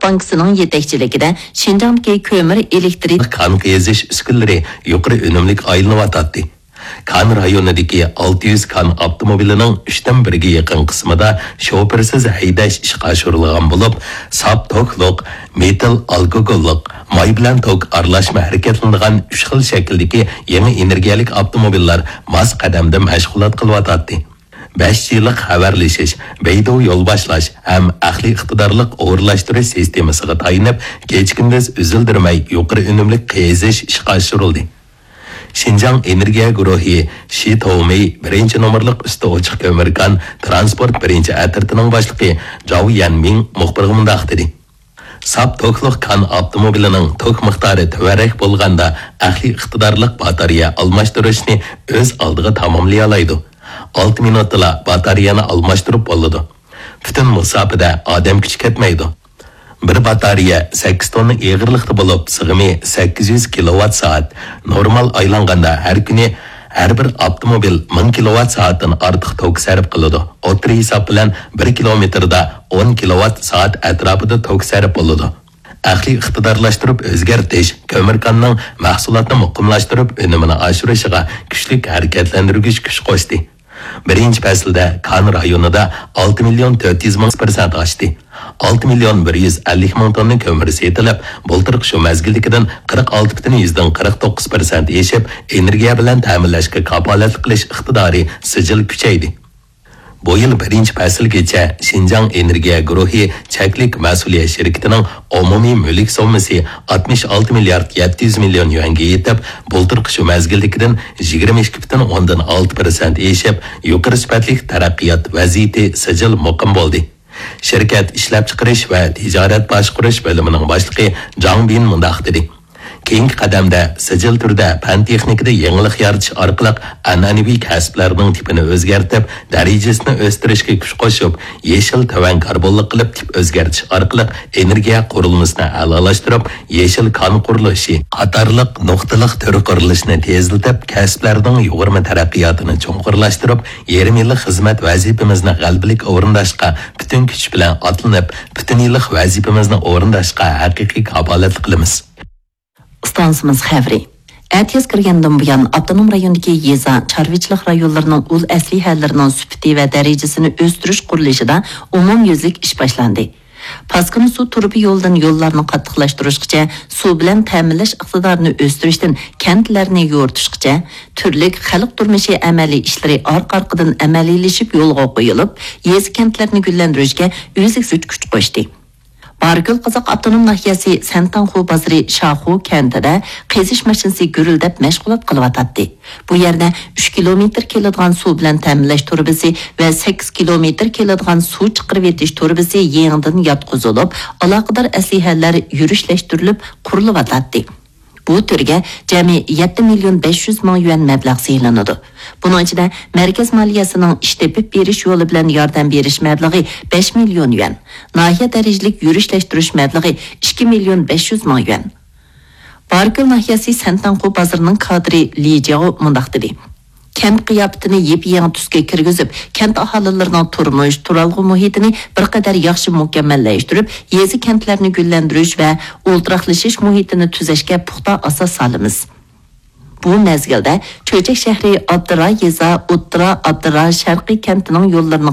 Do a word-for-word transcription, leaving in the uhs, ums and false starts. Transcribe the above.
بانكىسىنىڭ يېتەكچىلىكىدە شىنجاڭدىكى كۆمۈر ئېلېكترىك كان قېزىش ئۈسكۈنىلىرى يۇقىرى ئۈنۈملۈك ئايلىنىۋاتاتتى. كان رايونىدىكى ئالتە يۈز كان ئاپتوموبىلىنىڭ ئۈچتىن بىرىگە يېقىن قىسمىدا شوپۇرسىز ھەيدەش ئىشقا ئاشۇرۇلغان بولۇپ، ساپ توكلۇق، مېتىل ئالكوگوللۇق، ماي بىلەن توك ئارىلاشما ھەرىكەتلىنىدىغان ئۈچ خىل شەكىلدىكى يېڭى ئېنېرگىيەلىك ئاپتوموبىللار ماس قەدەمدە مەشغۇلات قىلىۋاتاتتى. بەش جى لىق خەۋەرلىشىش، بەيدۇ يول باشلاش ھەم ئەقلىي ئىقتىدارلىق ئورۇنلاشتۇرۇش سىستېمىسىغا تايىنىپ، كېچە-كۈندۈز ئۈزۈلدۈرمەي يۇقىرى ئۈنۈملۈك قېزىش ئىشقا ئاشۇرۇلدى. شىنجاڭ ئېنېرگىيە گۇرۇھى شى تومېي بىرىنچى نومۇرلۇق ئۈستى ئوچۇق كۆمۈر كان تىرانسپورت بىرىنچى ئەترىتىنىڭ باشلىقى جاۋ يەنمىڭ مۇخبىرغا مۇنداق دېدى: ساپ توكلۇق كان ئاپتوموبىلىنىڭ توك مىقدارى تۆۋەنرەك بولغاندا، ئەقلىي ئىقتىدارلىق باتارېيە ئالماشتۇرۇشنى ئۆز ئالدىغا تاماملىيالايدۇ. ئالتە مىنۇتتىلا باتارېيەنى ئالماشتۇرۇپ بولىدۇ. پۈتۈن مۇساپىدە ئادەم كۈچى كەتمەيدۇ. بىر باتارېيە سەككىز توننا ئېغىرلىقتا بولۇپ، سىغىمى سەككىز يۈز كىلوۋات سائەت. نورمال ئايلانغاندا ھەر كۈنى ھەر بىر ئاپتوموبىل مىڭ كىلوۋات سائەتتىن ئارتۇق توك سەرپ قىلىدۇ. ئوتتۇرا ھېساب بىلەن بىر كىلومېتىردا ئون كىلوۋات سائەت ئەتراپىدا توك سەرپ بولىدۇ. ئەقلىي ئىقتىدارلاشتۇرۇپ ئۆزگەرتىش كۆمۈر كاننىڭ مەھسۇلاتنى مۇقىملاشتۇرۇپ، ئۈنۈمىنى ئاشۇرۇشىغا كۈچلۈك ھەرىكەتلەندۈرگۈچ كۈچ قوشتى. بىرىنچى پەسىلدە كان رايونىدا ئالتە مىليون تۆت يۈز مىڭ پىرسەنت ئاشتى. ئالتە مىليون بىر يۈز ئەللىك مىڭ توننا كۆمۈر سېتىلىپ، بۇلتۇرقى شۇ مەزگىلدىكىدىن قىرىق ئالتە پۈتۈن يۈزدىن قىرىق توققۇز پىرسەنت ئېشىپ، ئېنېرگىيە بىلەن تەمىنلەشكە كاپالەتلىك قىلىش ئىقتىدارى سىجىل كۈچەيدى. بۇ يىل بىرىنچى پەسىلگىچە شىنجاڭ ئېنېرگىيە گۇرۇھى چەكلىك مەسئۇلىيەت شىركىتىنىڭ ئومۇمىي مۈلۈك سوممىسى ئاتمىش ئالتە مىليارد يەتتە يۈز مىليون يۈەنگە يېتىپ، بۇلتۇرقى شۇ مەزگىلدىكىدىن يىگىرمە ئىككى پۈتۈن ئوندىن ئالتە پىرسەنت ئېشىپ، يۇقىرى سۈپەتلىك تەرەققىيات ۋەزىيىتى سىجىل مۇقىم بولدى. شىركەت ئىشلەپچىقىرىش ۋە تىجارەت باشقۇرۇش بۆلۈمىنىڭ باشلىقى جاڭ بىن مۇنداق دېدى: كېيىنكى قەدەمدە سىجىل تۈردە پەن-تېخنىكىدا يېڭىلىق يارىتىش ئارقىلىق ئەنئەنىۋى كەسىپلەرنىڭ تىپىنى ئۆزگەرتىپ، دەرىجىسىنى ئۆستۈرۈشكە كۈچ قوشۇپ، يېشىل تۆۋەن كاربونلۇق قىلىپ تىپ ئۆزگەرتىش ئارقىلىق ئېنېرگىيە قۇرۇلمىسىنى ئەلالاشتۇرۇپ، يېشىل كان قۇرۇلۇشى قاتارلىق نۇقتىلىق تۈر قۇرۇلۇشىنى تېزلىتىپ، كەسىپلەرنىڭ يۇغۇرما تەرەققىياتىنى چوڭقۇرلاشتۇرۇپ، يېرىم يىللىق خىزمەت ۋەزىپىمىزنى غەلىبىلىك ئورۇنداشقا پۈتۈن كۈچ بىلەن ئاتلىنىپ، پۈتۈن يىللىق ۋەزىپىمىزنى ئورۇنداشقا ھەقىقىي كاپالەتلىك قىلىمىز. ئىستانسىمىز خەۋىرى. ئەتىياز كىرگەندىن بۇيان، ئاپتونوم رايوندىكى يېزا، چارۋىچىلىق رايونلىرىنىڭ ئۇل ئەسلىھەلىرىنىڭ سۈپىتى ۋە دەرىجىسىنى ئۆستۈرۈش قۇرۇلۇشىدا ئومۇميۈزلۈك ئىش باشلاندى. پاسكىنا سۇ تۇرۇبا يولىدىن يوللارنى قاتتىقلاشتۇرۇشقىچە، سۇ بىلەن تەمىنلەش ئىقتىدارىنى ئۆستۈرۈشتىن كەنتلەرنى يورۇتۇشقىچە، تۈرلۈك خەلق تۇرمۇشى ئەمەلىي ئىشلىرى ئارقا-ئارقىدىن ئەمەلىيلىشىپ يولغا قويۇلۇپ، يېزا، كەنتلەرنى گۈللەندۈرۈشكە ئۈزلۈكسىز كۈچ قوشتى. باركۆل قازاق ئاپتونوم ناھىيەسى سەنتاڭخۇ بازىرى شاخۇ كەنتىدە قېزىش ماشىنىسى گۈرۈلدەپ مەشغۇلات قىلىۋاتاتتى. بۇ يەردە ئۈچ كىلومېتىر كېلىدىغان سۇ بىلەن تەمىنلەش تۇرۇبىسى ۋە سەككىز كىلومېتىر كېلىدىغان سۇ چىقىرىۋېتىش تۇرۇبىسى يېڭىدىن ياتقۇزۇلۇپ، ئالاقىدار ئەسلىھەلەر يۈرۈشلەشتۈرۈلۈپ قۇرۇلۇۋاتاتتى. بۇ تۈرگە جەمئىي يەتتە مىليون بەش يۈز مىڭ يۈەن مەبلەغ سېلىنىدۇ. بۇنىڭ ئىچىدە مەركەز مالىيەسىنىڭ ئىش تېپىپ بېرىش يولى بىلەن ياردەم بېرىش مەبلىغى بەش مىليون يۈەن، ناھىيە دەرىجىلىك يۈرۈشلەشتۈرۈش مەبلىغى ئىككى مىليون بەش يۈز مىڭ يۈەن. باركۆل ناھىيەسى سەنتاڭخۇ بازىرىنىڭ كادىرى لى جياۋ مۇنداق دېدى: كەنت قىياپىتىنى يېپيېڭى تۈسكە كىرگۈزۈپ، كەنت ئاھالىلىرىنىڭ تۇرمۇش، تۇرالغۇ مۇھىتىنى بىر قەدەر ياخشى مۇكەممەللەشتۈرۈپ، يېزا، كەنتلەرنى گۈللەندۈرۈش ۋە ئولتۇراقلىشىش مۇھىتىنى تۈزەشكە پۇختا ئاساس سالىمىز. بۇ مەزگىلدە چۆچەك شەھىرى ئابدۇرا يېزا، ئوتتۇرا ئابدۇرا شەرقىي كەنتىنىڭ يوللىرىنى